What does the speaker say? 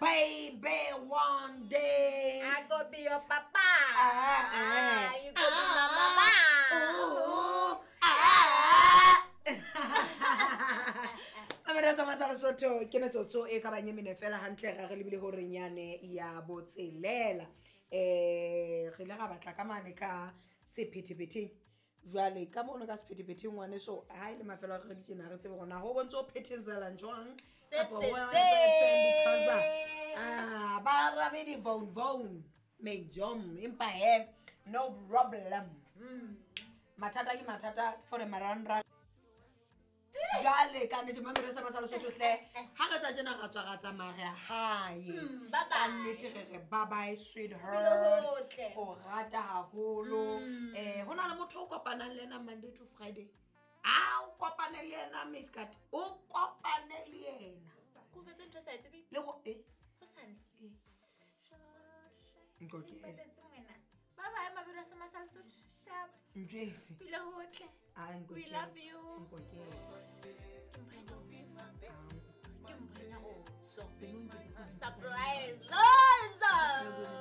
my baby one day. I go be your papa. Ah, ah, Ah, you go be my mama. Ooh, ah. Amera sa masala Sotho ke metsotso e ka bang e mene fela hantle ga re lebile horeng yane ya botshelela. Re ile ra batla ka mane ka sephetephetheng. Jwale ka mono ka sephetephetheng ngwaneso, ha e le mafelo a re tjena re tsebe hore na ho bontse o phethezelang jwang Se, kapa se, ho se. etsang because ba rabe di-phone phone mejom, empa he, no problem. Mathata ke mathata for the marangrang. Jwale ka nnete, mamere sa masala Sotho hle, ha re tsa tjena ra tswa ra tsamaya re ya hae. Bye Ka bye. nnete re re bye bye, sweetheart. Ho hotle. Go rata haholo. Ho na le motho o kopanang le ena Monday to Friday, a o kopane le ena miscat, o kopane le ena. Ke o fetse ntho e sa e tsebeng. Le go e Hosane. E. Shoshe. Nkokele. Ke ipatetse ngwena. Bye bye, mabelo a Masala Sotho. Sharp. Ntjwetse. Pila hotle. Ah, We nkokele. love you. Nkokele. Ke mpho ya nyaoso. Ah. Ke mpho ya nyaoso. Pelo ntjwetse. Surprise. Oza.